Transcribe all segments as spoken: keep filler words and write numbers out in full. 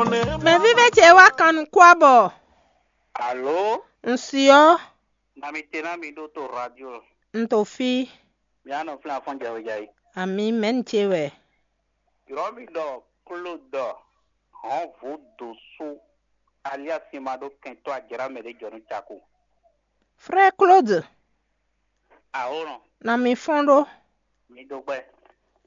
Mɛ vívɛ́ ce wá kan nukún abɔ. Alo, un si ɔ́, mami te ná mi ɖó to radio. Un to fí. Mi anɔ flin afɔn jawéjayi. Ami mɛ̌ni ce wɛ? Yrɔ́ mi ɖɔ Claude hɔn vǔ dǒ sú alias ma ɖó kɛntɔ́ ajlǎ mɛ ɖé jɔ nú caku. Frère Claude, Aho nɔ, na mi fɔ́n ɖó. Mi ɖó gbɛ.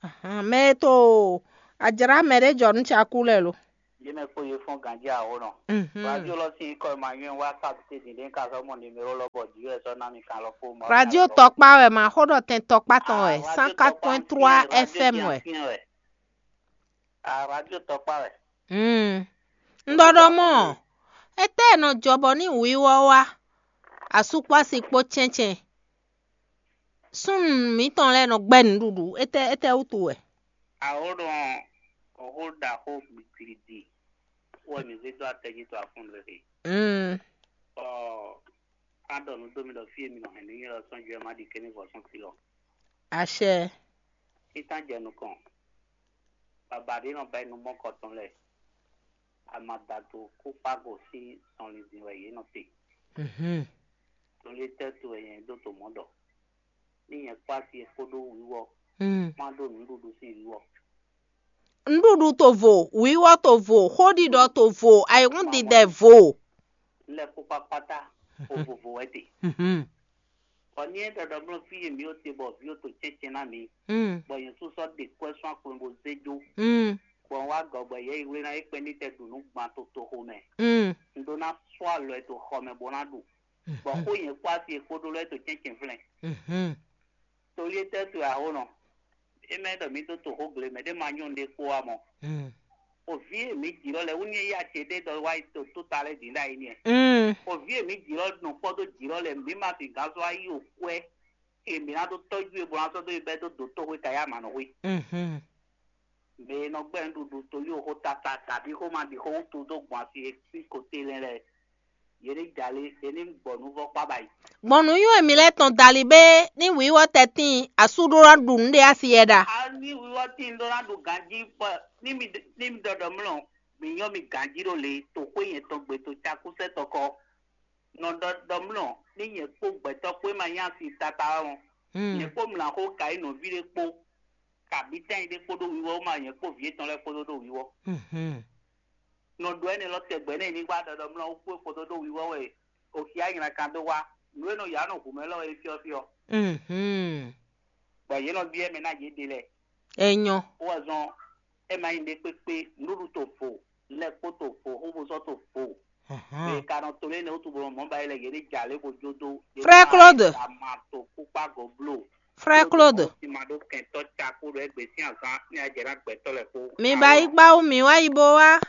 Ahan, mɛ e to ajlǎ mɛ ɖé jɔ nú caku lɛ́ɛ lo. Yě mɛ kpó yě fɔ́n ganjí aho nɔ. Mhm. Radio lɔ sín kɔ ma nyɔ́ wá kábíté dǐndín ka sɔ́ mɔ nimero lɔ bɔ jǐ wɛ sɔ́ ná mi kan lɔ kpó mɔ. Radio tɔkpá wɛ ma xó ɖɔ tɛn tɔkpá tɔn wɛ, Ah, radio cent quatre point trois tɔkpá F M wɛ. Ancienne wɛ. Ah, radio tɔkpá wɛ. Hmm. Un ɖɔ ɖɔ mɔ, étɛ́ e nɔ jɔ bɔ ní wǐwɔ wá, asúkpási kpó cɛ́ncɛn. Súnnu mǐtɔn lɛ́ɛ nɔ gbɛ́ nǔɖuɖu, étɛ́ étɛ́ wútu wɛ? Aho nɔ, oho ɖaxó gbigbidi wɛ mi zé dó atɛ jí to afún lé he. Mm. Ɔ, a ɖɔ nǔ dó mi ɖɔ fí e mi nɔ hɛn nú nyɛ lɔ sɔ́n jɔ ma ɖi kéní vɔ sɔ́n fi lɔ. Acɛ. Títán jɛ nukɔn. Baba ɖé nɔ ba nú mɔkɔ tɔn lɛ. Amadato kó kpágo sín sɔnlin din wɛ yě nɔ te. Mhm. Tóli tɛ́ to wɛ nyɛ ɖó to mɔ̌ ɖɔ. Ní nyɛ kpó asi e kpódó wíwɔ, Mm. má ɖó nǔɖuɖu sín wíwɔ. Nǔɖuɖu to vo, wǐwɔ to vo, xóɖiɖɔ to vo, ayǐhúndidɛ vo. Lɛ kpó kpákpátá, vovovo wɛ te. Mhm. Bɔ ní é ɖɔɖɔ bló fí e mǐ ó te bɔ vǐ ó to cɛ́cɛ́ ná mǐ, Mm. bɔ nyɛ sú sɔ́ ɖe kwɛ́ sɔ́ akplɔn bó zé jó, Mm. bɔ un wá gɔ̌ bɔ yɛ yi wlé ná é kpɛ́n ní tɛ ɖu nǔ gban to toxo mɛ. Mm. Un ɖó ná sɔ́ alɔ ɛ to xɔ mɛ bó ná ɖu. Bɔ xó nyɛ kpó asi e kpódó lɛ́ to cɛ́ncɛ́n flɛ́n. Mhm. Tóli é tɛ́ to aho nɔ. É mɛ ɖɔ mǐ dó to xó gle mɛ ɖé ma nyɔ́ ɖé kpó wá mɔ. Mm. Oví e mǐ jǐ lɔ lɛ wú ní é yá ce ɖé ɖɔ wá yi to tó ta lɛ́ dǐn ɖ'ayǐ nìɛ. Mm. Oví e mǐ jǐ lɔ nɔ kpɔ́ dó jǐ lɔ lɛ mǐ ma fin gǎn sɔ́ wá yi o kwɛ́. E mǐ ná dó tɔ́jú e bó ná sɔ́ dó yi bɛ́ dó dǒ tóxwé ka yá mǎ nɔ xwé. Mhm. Mɛ e nɔ gbɛ́ nǔɖuɖu tóli o xó tata kabí xó ma ɖi xó wútu dó gbɔn asi e sín koté lɛ́ lɛ́ɛ. Yě ní jalé, yě ní gbɔ nǔ vɔ kpá ba yi. Gbɔn nǔnywɛ́ mǐ lɛ́ɛ tɔn dali bé ní wǐwɔ tɛtín asú ɖó ná ɖu nǔɖé asi yɛ ɖa. A ní wíwɔ tín ɖó ná ɖu ganjí kpɔ ní mi ní mi ɖɔɖɔ mlɔ, mi nyɔ mi ganjí ɖo le to xwé yɛn tɔn gbe to cakúsɛ tɔkɔ. Nɔ ɖɔɖɔ mlɔ ní nyɛ kpó gbɛtɔ́ kpó e ma nyá si tata ɔ́. Hmm. Nyɛ kpó mlɔ axó ka yi nɔví ɖé kpó, kabí tɛ́nyi ɖé kpódó wíwɔ ma nyɛ kpó vǐ etɔn lɛ́ɛ kpódó ɖo wíwɔ. Mhm. Nɔ ɖo ɛnɛ lɔ tɛgbɛ nɛ ní wá ɖɔɖɔ mlɔ wú kpó kpódó ɖo wíwɔ wɛ. Oxia nyina kan dó wá. Nǔ e nɔ yǎ nɔ hu mɛ lɔ é fyɔ́fyɔ́. Mhm. Bɔ yě nɔ byɔ́ mɛ ná yě ɖe lɛ. Enyɔ. Wɔ zɔn ɛ ma nyí ɖe kpékpé nǔɖuɖu to vo, lɛ kpó to vo, xóbosɔ to vo. Mhm. Mɛ ka nɔ to lé ne wútu bɔ mɔ ba yi lɛ yě ɖe jà lé bo jó dó. Frère Claude. Ama to kpókpá gɔblo. Frère Claude. Ti ma ɖó kɛntɔ ca kó ɖo ɛgbɛ sín azán ní ajɛ ná gbɛtɔ lɛ kó. Mi ba yi gbá wú mi wá yi bo wá.